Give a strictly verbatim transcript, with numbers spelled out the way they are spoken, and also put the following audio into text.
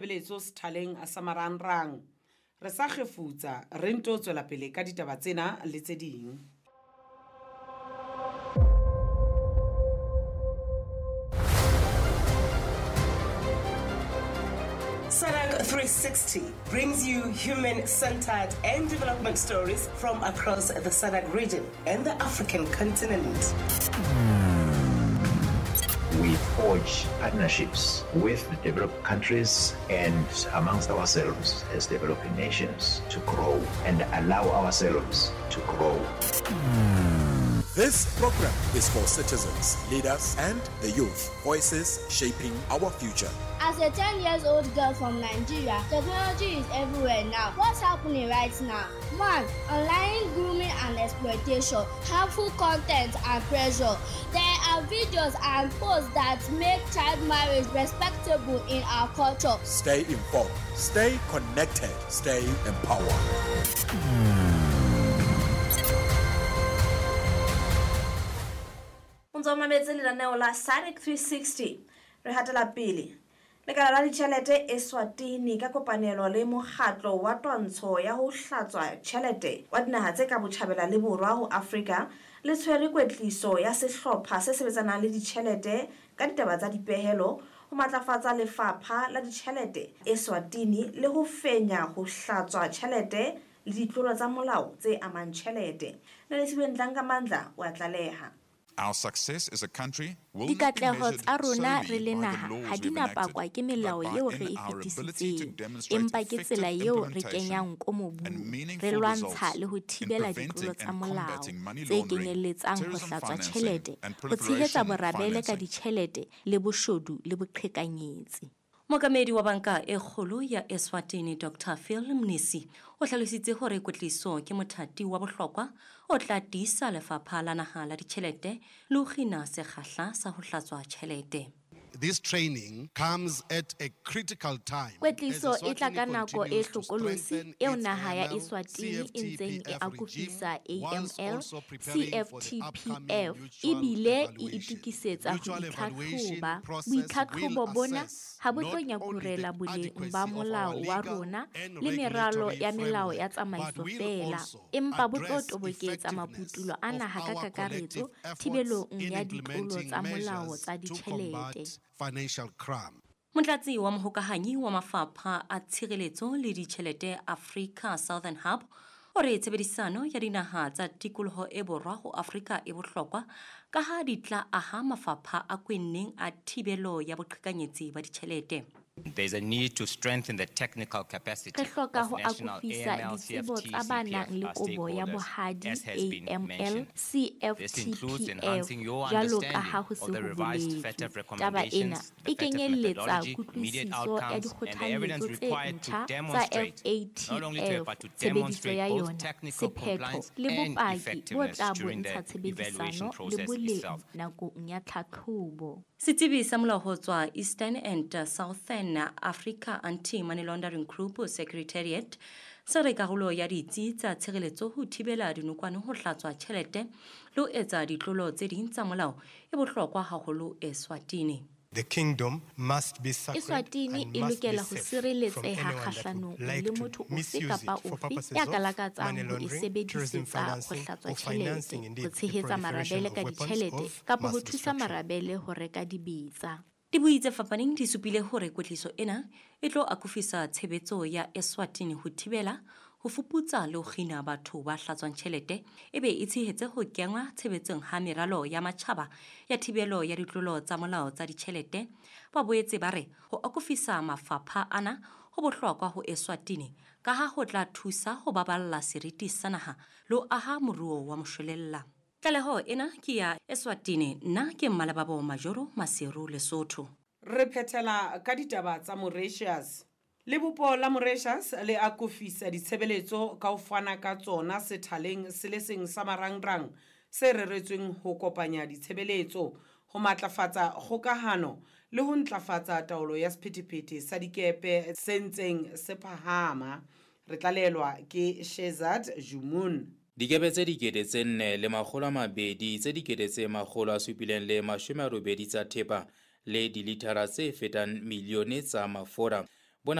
Beletso sethaleng sa marangrang. Re sa kgefutsa re nto tswela pele ka ditaba tsena le tse ding. S A D C three sixty brings you human-centered and development stories from across the S A D C region and the African continent. We forge partnerships with developed countries and amongst ourselves as developing nations to grow and allow ourselves to grow. This program is for citizens, leaders, and the youth, voices shaping our future. As a ten years old girl from Nigeria, technology is everywhere now. What's happening right now? One, online grooming and exploitation, harmful content and pressure. There are videos and posts that make child marriage respectable in our culture. Stay informed, stay connected, stay empowered. O ntso mametse lenaneo la S A D C three sixty. Re hatela pele. Lekala la ditjhelete Eswatini ka kopanelo le mokgatlo wa twantsho ya ho hlatswa tjhelete wa dinaha tse ka botjhabela le borwa ho Afrika le tshwere kwetliso ya sehlopha se sebetsanang le ditjhelete ka ditaba tsa dipehelo ho matlafatsa lefapha la ditjhelete Eswatini le ho fenya ho hlatswa tjhelete le ditlolo tsa molao tse amang tjhelete. Nelisiwe Ndlangamandla o a tlaleha. Our success as a country will not be Dikatleho measured tsa rona solely re le by the naha laws ha di we've na enacted, pakwa ke melao but by eo in re e our ability to fetisitseng, demonstrate empa ke tsela effective eo re implementation kenyang ko mobung, and re meaningful lwantsha results le ho in thibela preventing ditlolo tsa and molao combating money tse laundering, kenyelletsang ho terrorism hlatswa financing, tjhelete, and ho tshehetsa proliferation borabele ka financing. ditjhelete le boshodu le boqhekanyetsi. Mookamedi wa banka e kgolo ya Eswatini Doctor Phil Mnisi o hlalositse hore kwetliso ke mothati wa bohlokwa o tla tiisa lefapha la naha la ditjhelete le ho kgina sekgahla sa ho hlatswa tjhelete. This training comes at a critical time. Kwetliso as e tla ka Eswatini nako e continues to hlokolosi strengthen eo its naha ya A M L, Eswatini e ntseng e C F T P F akofisa regime, whilst A M L, also preparing for the C F T P upcoming F, mutual ebile e evaluation. itokisetsa ho Mutual evaluation itlhatlhoba. process will Boitlhatlhobo bona assess ha bo tlo not only the nyakurela boleng adequacy ba of our molao wa legal rona and le meralo regulatory ya melao ya framework, tsamaiso but will feela, also empa bo tlo address toboketsa effectiveness maputulo a of naha ka our kakaretso collective efforts thibelong in ya ditlolo implementing tsa molao measures tsa to ditjhelete. combat financial crime. Motlatsi wa mohokahanyi wa mafapha a tshireletso le ditjhelete Africa Southern Hub o re tshebedisano ya dinaha tsa tikoloho e borwa ho Afrika e bohlokwa ka ha di tla aha mafapha a kwenneng a thibelo ya boqhekanyetsi ba ditjhelete. There's a need to strengthen the technical capacity Re hloka of ho national akofisa A M L, ditsebo C F T, tsa ba C P F, nang le our kobo ya stakeholders, bohadi as has been A M L, mentioned. C F This T includes P F, enhancing your jwalo ka ha understanding ho se of the ho revised boletswe. F A T F Taba ena recommendations, the e F A T F kenyelletsa methodology, immediate kutlwisiso ya outcomes, and the evidence dikgothalletso tse required to ntjha tsa demonstrate, F A T not only to, F, but to tshebediso demonstrate ya both yona, technical sephetho compliance le and bopaki bo effectiveness tla during the bontsha tshebedisano evaluation le process boleng itself. nakong ya tlhatlhobo. Setsebi sa molao ho tswa Eastern and Southern Africa Anti-Money Laundering Group Secretariat se re karolo ya ditsi tsa tshireletso ho thibela dinokwane ho hlatswa tjhelete le ho etsa ditlolo tse ding tsa molao e bohlokwa haholo Eswatini. The kingdom must be sacred Eswatini and e must be lokela ho safe from sireletseha anyone that would kgahlanong like le to motho ofe misuse kapa it for ofe purposes ya of ka lakatsang money ho e laundering, terrorism sebedisetsa ho financing, hlatswa or financing tjhelete, indeed ho the tshehetsa proliferation marabele of ka weapons ditjhelete of kapa ho mass thusa destruction. marabele ho reka dibetsa. Dibui tse fapaneng di supile hore kwetliso ena e tlo akofisa tshebetso ya Eswatini ho thibela, ho fuputsa le ho kgina batho ba hlatswang tjhelete, ebe e tshehetse ho kenngwa tshebetsong ha meralo ya matjhaba ya thibelo ya ditlolo tsa molao tsa ditjhelete. Ba boetse ba re ho akofisa mafapha ana ho bohlokwa ho Eswatini ka ha ho tla thusa ho baballa seriti sa naha le ho aha moruo wa moshwelella. Tlaleho ena ke ya Eswatini, nna ke Mmalebabo Majoro Maseru Lesotho. Re phethela ka ditaba tsa Mauritius. Lebopo la Mauritius le akofisa ditshebeletso ka ho fana ka tsona sethaleng se le seng sa marangrang se reretsweng ho kopanya ditshebeletso, ho matlafatsa kgokahano le ho ntlafatsa taolo ya sephethephethe sa dikepe se ntseng se phahama. Re tlalelwa ke Shezad Jumun. Dikepe tse dikete tse nne le makgolo a mabedi tse dikete tse makgolo a supileng le mashome a robedi tsa thepa le dilithara tse fetang milione tsa mafura